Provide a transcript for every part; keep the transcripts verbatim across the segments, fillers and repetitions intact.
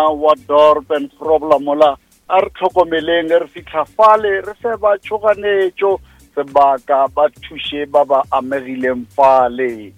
rena wa Dorp en Grobler mola, a re tlhokomeleng re fitlha fale re fe ba tšhoganetšo sebaka ba thuše ba ba amegileng fale.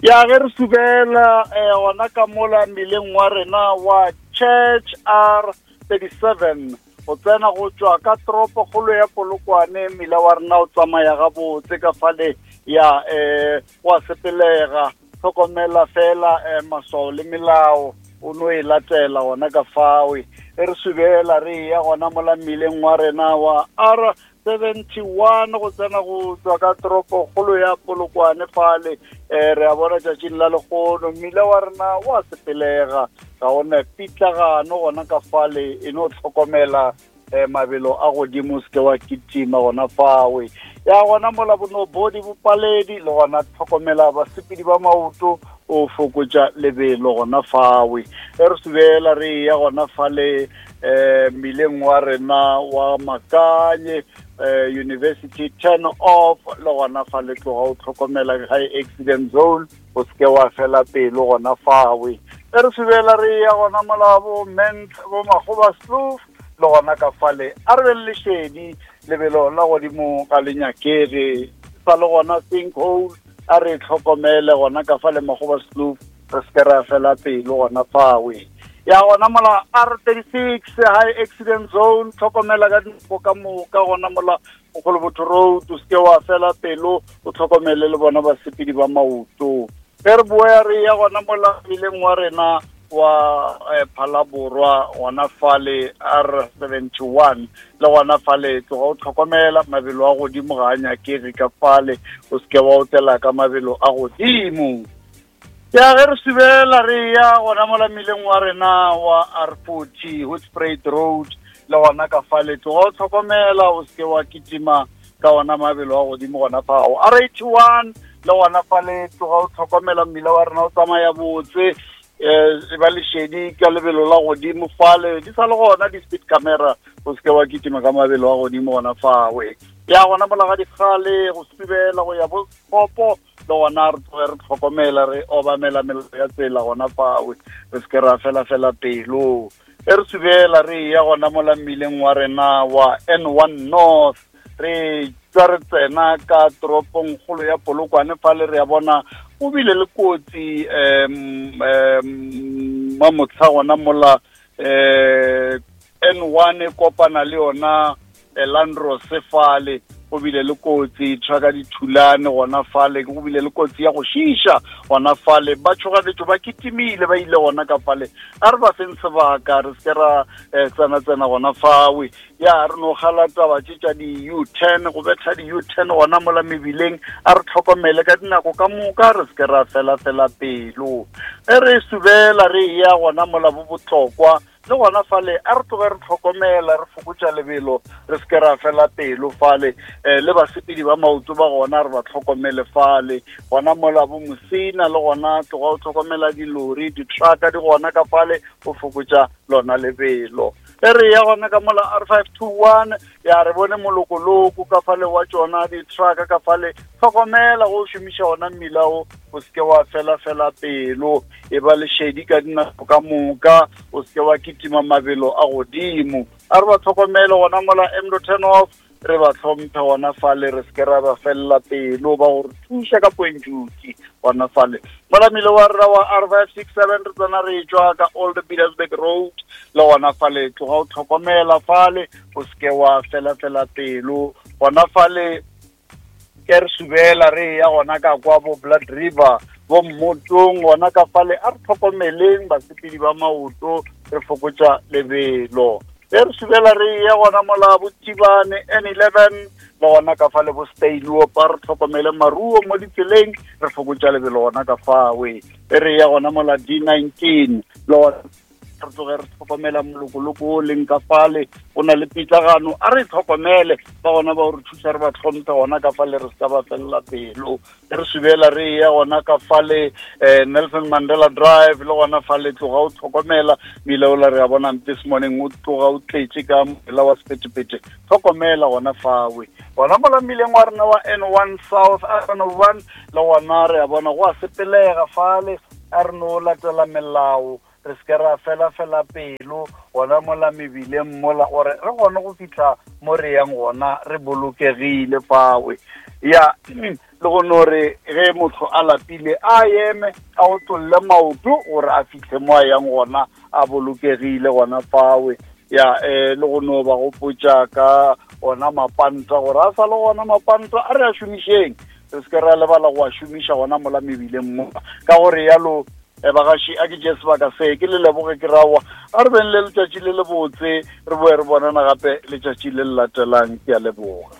Ya ge re subela eh, gona ka mola mmileng wa rena wa Church R thirty-seven go tsena go tšwa ka toropokgolo ya Polokwane, mmila wa rena o tsamaya gabotse ka fale ya eh wa sepelega. Tlhokomela fela eh, maswao le melao o no e latela gona ka fawe. E re subela re ya gona mola mmileng wa rena wa R seventy-one go tsena go tswa ka toropokgolo ya Polokwane fale, eh re a bona tšatšing la lekgono mmila wa rena wa sepelega, ga ona pitlagano gona ka fale. E no tlhokomela eh, mabelo a godimo, se ke wa kitima gona fawe. Ya gona mola bonobodi bopaledi le gona tlhokomela basepedi ba maoto, o fokotša lebelo gona fawe. E re subela re ya gona fale eh mmileng wa rena wa Makanye eh, University turn off, le gona fale tloga o tlhokomela high accident zone, o seke wa fela pelo gona fawe. E re subela re ya gona mola bo Ment bo Magoba Sloof, le gona ka fale a re be le lešedi, lebelo la godimo ga le nyakege sa le gona sinkhole, a re tlhokomele gona ka fale Magoba Sloof, re seke ra fela pelo gona fawe. Ya gona mola R thirty-six high accident zone, tlhokomela ka dinako ka moka gona mola Mogolobotho Road, o seke wa fela pelo, o tlhokomele le bona basepedi ba maoto. Ge re boya re ya gona mola mmileng wa rena wa eh, Phalaborwa gona fale R seventy-one, le gona fale tloga o tlhokomela mabelo a godimo ga a nyakege ka fale, o seke wa otela ka mabelo a godimo. Ya ge re subela re ya gona mola mmileng wa rena wa R forty Hoedspruit Road, le gona ka fale tloga o tlhokomela, o seke wa kitima ka ona mabelo a godimo gona fao. R eighty-one le gona fale tloga o tlhokomela, mmila wa rena o tsamaya botse, eh ba lešedi ka lebelo la godimo fale, di sa le gona di-speed camera, o seke wa kitima ka mabelo a godimo gona fawe. Ya gona mola ga dikgale go subela go ya bo Kopo, le gona re tloge re tlhokomela re obamela melao ya tsela gona fawe, re seke ra fela fela pelo. E re subela re ya gona mola mmileng wa rena wa N one North, re tswa re tsena ka toropong kgolo ya Polokwane fale, re a bona o bile le kotsi um um mamotlha gona mola eh N one e kopana le yona Landros fale, go bile le kotsi trucka di thulane gona fale, go bile le kotsi ya go šiša gona fale, ba tšhoganetšo ba kitimile ba ile gona ka fale. A re ba feng sebaka, re seke ra eh, tsena-tsena gona fawe. Ya re no gala taba tše tša di-U ten, go betha di-U ten gona mola mebileng, a re tlhokomele ka dinako ka moka, re seke ra fela-fela pelo. Ge re subela re ya gona mola bo botlokwa, le gona fale a re tloge re tlhokomela, re fokotša lebelo, re seke ra fela pelo fale. Eh, le basepedi ba maoto ba gona re ba tlhokomele fale gona mola bo Mosina, le gona tloga o tlhokomela dilori, di-trucka di gona ka fale, o fokotša lona lebelo. E re ya gona ka mola R five two one, ya re bone molokoloko ka fale wa tšona di-trucka ka fale, tlhokomela go šomiša ona mmila o, o seke wa fela fela pelo, e ba lešedi ka dinako ka moka, o seke wa kitima mabelo a godimo. A re ba tlhokomele gona mola M turn off, re ba hlomphe gona fale, re seke ra ba felela pelo, ba go re thuša ka poentšuki gona fale. Mola mmila wa rena wa R five six seven re tsena re tšwa ka Old Pietersburg Road, le gona fale tloga o tlhokomela fale, o seke wa fela fela pelo gona fale. Ke re subela re ya gona ka kwa bo Blood River bo Mmotong gona ka fale, a re tlhokomeleng basepedi ba maoto, re fokotša lebelo. E re subela re ya gona mola bo Tibane N eleven, le gona ka fale bo Steyloop, a re tlhokomele maruo mo ditseleng, re fokotša lebelo gona ka fawe. E re ya gona mola D nineteen, le gona re tloge re tlhokomela molokoloko o leng ka fale, o na le pitlagano, a re tlhokomele ba gona ba re thuša, re ba hlomphe gona ka fale, re se ka ba felela pelo. E re subela re ya gona ka fale eh, Nelson Mandela Drive, le gona fale tloga o tlhokomela mmila ola re a bona this morning o tloga o tletše ka mola wa sephethephethe, tlhokomela gona fawe. Gona mola mmileng wa rena wa N one South R one, le gona re a bona go a sepelega fale, a re no latela melao re se ke ra fela-fela pelo gona mola mebileng mola gore re kgone go fitlha mo re yang gona re bolokegile fawe. Ya le go no re ge motho a lapile a eme a otlolle maoto gore a fitlhe mo a yang gona a bolokegile gona fawe. Ya eh le go no ba gopotša ka ona mapanta gore a sa le gona mapanta a re a šomišeng, re se ke ra lebala go a šomiša gona mola mebileng mo. Ka gore yalo bagaši a ke tše sebaka se ke le leboge ke rawa a re beng le letšatši le le botse, re boe re bonana gape letšatši le le latelang. Ke a leboga.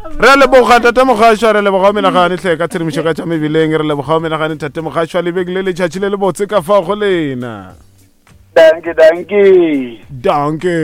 Re leboga tate Mogasho, re leboga menagane hle ka tshedimošo ka tša mebileng, re leboga menagane tate Mogasho, le beng le letšatši le le botse ka fao go lena. Danke, danke. Danke.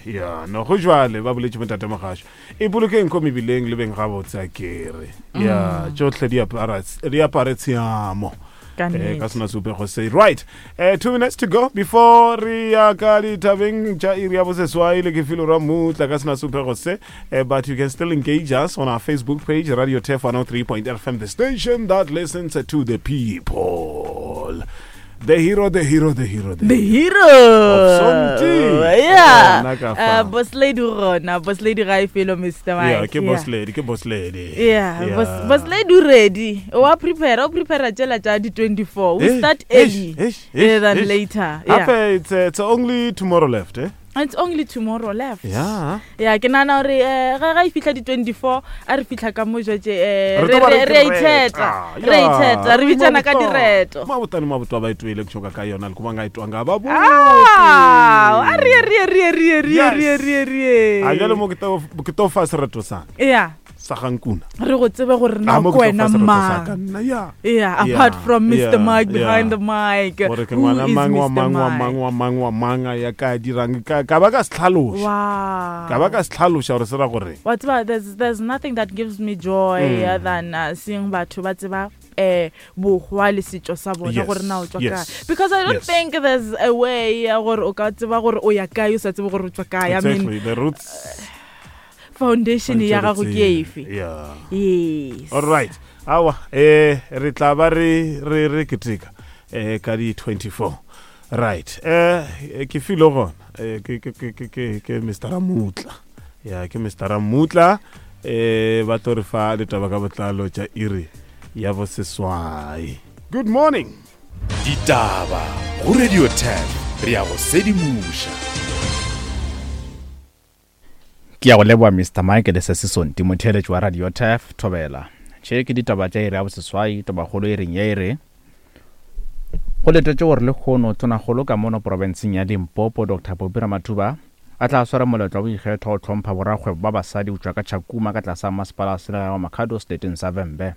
Ya, no go jwale ba boletše mo tate Mogasho. E bolokeng ko mebileng le beng gabotse a kere. Ya, tšohle di apara di apare tshiamo. Eh, ka sona seupego se. Right. Eh, two minutes to go before re ya ka ditabeng tša iri ya boseswai le ke filo ra mutla ka sona seupego se. Eh, but you can still engage us on our Facebook page, Radio Turf one oh three point F M, the station that listens to the people. The hero, the hero, the hero, the, the hero. Of yeah. Uh, boss lady rona, boss lady ga e felo Mister Mike. Yeah, ke boss lady, ke boss lady. Yeah, yeah. Boss, boss lady ready. O a prepare, o prepare tšela tša di twenty-four. We start early than later. Yeah. Ape, it's, uh, it's only tomorrow left, eh? It's only tomorrow left. Yeah. Yeah, ke nana gore eh ga ga e fihla di twenty-four a re fihla ka mo jetse eh re re ithetha. Re ithetha, re bitsana ka direto. Mabotane mabotwa ba itwele ke ka yona le kuma nga itwa nga ba bo. Ah, a re re re re re re re re. A jale mo ke to ke to fa sereto sa. Yeah. Sa gankuna. Re go tsebe gore na ko wena mang. Yeah, apart from Mister Mike behind the mic. Gore ke ngwana mang wa mang wa mang wa mang wa mang ya ka dirang ka ka ba ka se tlhaloša. Wow. Ka ba ka se tlhaloša gore se ra gore. Wa tseba, there's there's nothing that gives me joy mm. than uh, seeing batho ba tseba eh bohwa le setšo sa bona gore na o tswa kae. Because I don't yes. think there's a way gore o ka tseba gore o ya kae o sa tsebe gore o tswa kae. I mean the roots. Uh, foundation ya gago ke efe? Yeah. Yes. All right. Awa eh re tla ba re re re keteka eh ka di twenty-four. Right. Eh ke filo gona eh ke ke ke ke ke Mister Ramutla. Ya ke Mister Ramutla eh ba tlo re fa ditaba ka botlalo tša iri ya boseswai. Good morning. Ditaba go Radio ten re ya go sedimoša. Ke ya go leboa Mister Mike le se Sonti motheeletši wa Radio Turf Thobela. Tše ke ditaba tša iri ya boseswai, tabakgolo e reng ye e re go letetše gore lekgono tonakgolo ka mono porofenseng ya Limpopo Doctor Phophi Ramathuba a tla swara moletlo wa boikgetho go hlompha borakgwebo ba basadi go tšwa ka Tšhakuma ka tlasa masepala wa selegae wa Makhado seleteng sa Vhembe.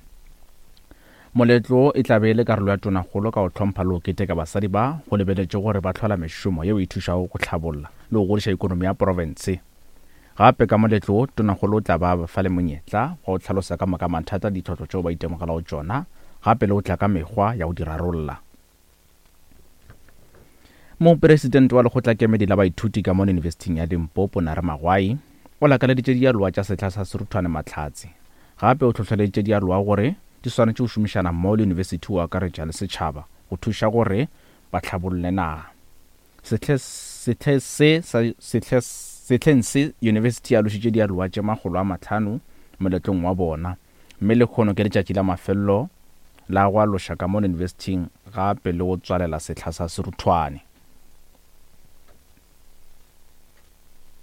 Moletlo e tla be e le karolo ya tonakgolo ka go hlompha le go keteka basadi ba go lebeletše gore ba hlola mešomo yeo e thušago go hlabolla le go godiša ikonomi ya porofense. Gape ka moletlo tonakgolo o tla ba fa le monyetla wa go hlalosa ka moka mathata le ditlhotlo tšeo ba itemogelago tšona, gape le go tla ka mekgwa ya go di rarolla. Mopresidente wa lekgotlakemedi la baithuti ka mono Yunibesithing ya Limpopo Nare Magwai o lakaleditše dialoa tša sehla sa Seruthwane Mahlatse. Gape o hlohleleditše dialoa gore di swanetše go šomišana mmogo le yunibesithi go akaretša le setšhaba go thuša gore ba hlabolle naga. Sehle sehle se sehle sehleng se yunibesithi ya alošitše dialoa tše makgolo a mahlano moletlong wa bona, mme lekgono ke letšatši la mafelelo la go aloša ka mono yunibesithing gape le go tswalela sehla sa Seruthwane.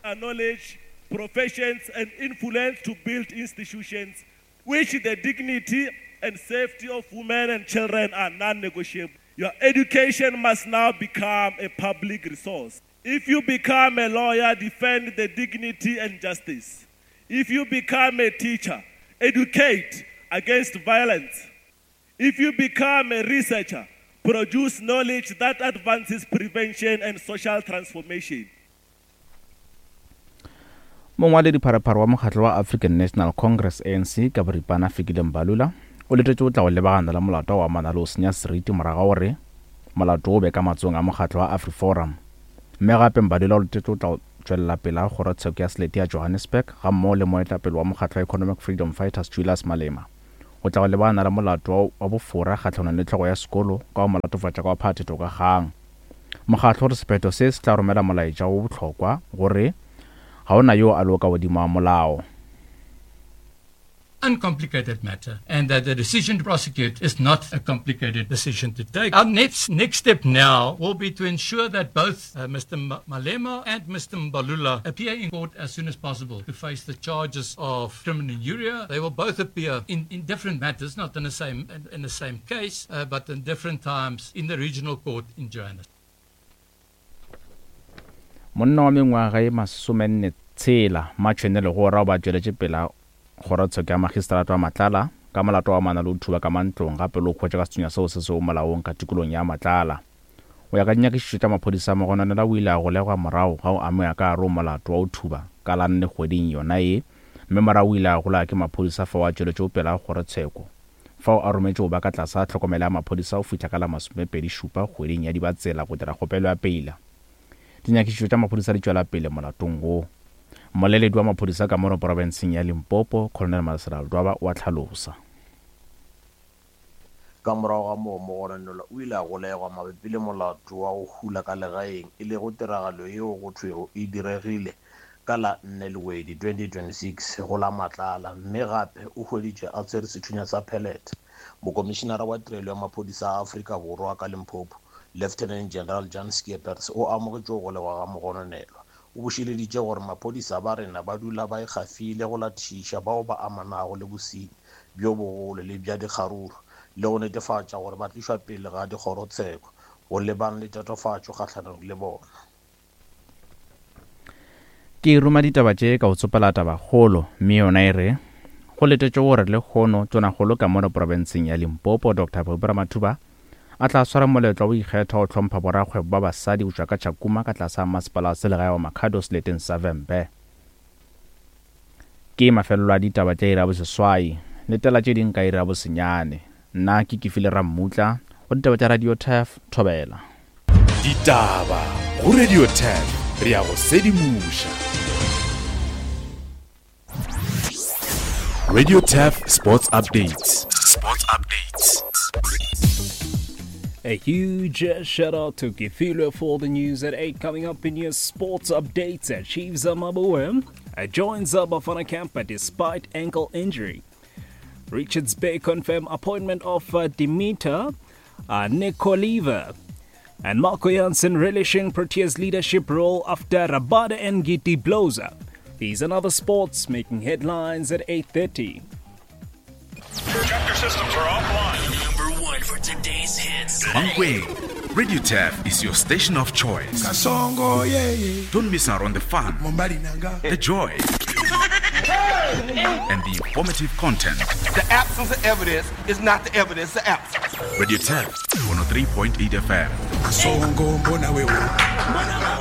Knowledge, professions and influence to build institutions which the dignity and safety of women and children are non-negotiable. Your education must now become a public resource. If you become a lawyer, defend the dignity and justice. If you become a teacher, educate against violence. If you become a researcher, produce knowledge that advances prevention and social transformation. Mongwaledi pharephare wa mokgatlo wa African National Congress A N C ka boripana Fikile Mbalula o letetše go tla go lebagana le molato wa amana le go senya seriti morago gore molato o be ka matsogong a mokgatlo wa AfriForum. Mme gape Mbalula o letetše go tla go tšwelela pele ga kgorotsheko ya selete ya Johannesburg gammogo le moetapele wa mokgatlo wa Economic Freedom Fighters Julius Malema. go tla go lebana le molato wa bofora kgahlanong le tlhogo ya sekolo ka go molatofatša ka wa phathetho ka kgang. Mokgatlo o re sephetho se se tla romela molaetša wo bohlokwa gore ga ona yo a lego ka godimo ga molao. Uncomplicated matter, and that the decision to prosecute is not a complicated decision to take. Our next, next step now will be to ensure that both uh, Mister Malema and Mister Mbalula appear in court as soon as possible to face the charges of criminal injury. They will both appear in, in different matters, not in the same, in, in the same case, uh, but in different times in the regional court in Johannesburg. Monna wa mengwaga ye masomenne tshela Matšhwene Legora o ba tšweletše pela kgorotsheko ya magistrata wa Matlala ka molato wa amana le go thuba ka mantlong gape le go hwetša ka sethunya seo se sego molaong ka tikolong ya Matlala. Go ya ka dinyakišišo tša maphodisa, mogononela o ile a golegwa morago ga go amega ka gare go molato wa go thuba ka la nne kgweding yona ye, mme morago o ile a golega ke maphodisa fao a tšweletšego pela kgorotsheko fao a rometše go ba ka tlase ga tlhokomelo ya maphodisa go fihla ka la masomepedi šupa kgweding ya Dibatsela go dira kgopelo ya peila. Dinyakišišo tša maphodisa di tšwela pele molatong wo. Mmoleledi wa maphodisa ka mono porofenseng ya Limpopo, Colonel Malesela Ledwaba, o a hlalosa. Ka morago ga moo mogononelwa o ile a golegwa mabapi le molato wa go hula ka legaeng, e lego tiragalo yeo go thwego e diregile ka la nne Lwedi twenty twenty-six go la Matlala, mme gape o hweditšwe a tshwere sethunya sa pellet. Mokomišenara wa tirelo ya maphodisa a Afrika Borwa ka Limpopo, Lieutenant General Jan Skeepers, o amogetše go golegwa ga mogononelwa. O bošeleditše gore maphodisa ba rena ba dula ba ikgafile go latišiša bao ba amanago le bosenyi bjo bogolo le bja dikgaruru le go netefatša gore ba tlišwa pele ga dikgorotsheko go lebana le tatofatšo kgahlanong le bona. Ke ruma ditaba tše ka go tsopela tabakgolo, mme yona e re go letetšwe gore lehono tonakgolo ka mono porofenseng ya Limpopo Doctor Phophi Ramathuba a tla swara moletlo wa go ikgetha go hlompha borakgwebo ba basadi go tšwa ka Tšhakuma ka tlase ga masepala wa selegae wa Makhado seleteng sa Vhembe. Ke mafelelo a ditaba tša iri ya boseswai, letela tše ding ka iri ya bosenyane. Nna ke Kefile Rammutla go ditaba tša Radio Turf Thobela. Ditaba go Radio Turf, re ya go sedimoša. Radio Turf Sports Updates. Sports Updates. A huge shout out to Kefilwe for the news at eight. Coming up in your sports updates, Chiefs Maboe joins Bafana camp despite ankle injury. Richards Bay confirm appointment of Dimitar Nikoliva. And Marco Jansen relishing Proteas leadership role after Rabada and Ngidi blows up. These and other sports making headlines at eight thirty. Chapter systems are offline. Number one for today's hits. Mankweng, Radio Turf is your station of choice. Kasongo, yeah, yeah. Don't miss out on the fun, the joy, and the informative content. The absence of evidence is not the evidence of absence. Radio Turf, one oh three point eight F M. Kasongo, mbona wewe.